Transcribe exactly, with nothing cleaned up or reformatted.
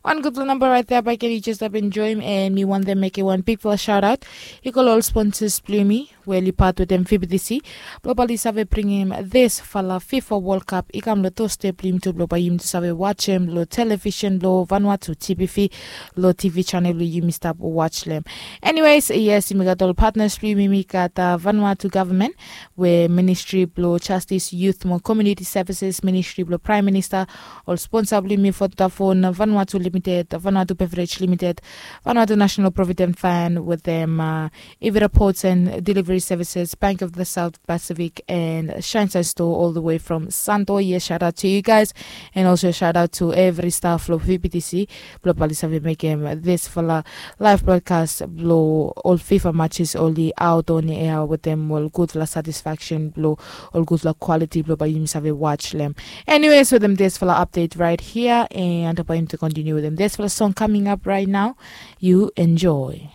Wan gutpela namba rait ya baik, and yu jes stap enjoim, and mi wantem mekim wan bigpela shout out i go long ol sponsors blong yumi we oli pat wetem V B T C blong bae oli save bringim disfala FIFA World Cup i kam long doorstep blong yumi tu blong bae yumi tu save wajem long television blong Vanuatu T V V, long T V channel we yumi stap waj long em. Anyways, yes, yumi gat ol partners blong yumi. Yumi gat uh, Vanuatu government, we Ministry blong Justice, Youth mo Community Services, Ministry blong Prime Minister, ol sponsor blong yumi, Vodafone Vanuatu Limited, Vanuatu Beverage Limited, Vanuatu National Provident Fund, wetem uh, Ivira Ports and Delivery Services, Bank of the South Pacific, and Shine Shine Store all the way from Santo. Yes, shout out to you guys, and also shout out to every staff long V B T C blong bae oli save mekim disfala live broadcast blong ol FIFA matches oli out on air wetem ol gudfala satisfaction blong ol gudfala quality blong bae yumi save waj long em. Anyways, wetem disfala update right here, and bae yumi tu continue wetem disfala song coming up right now. You enjoy.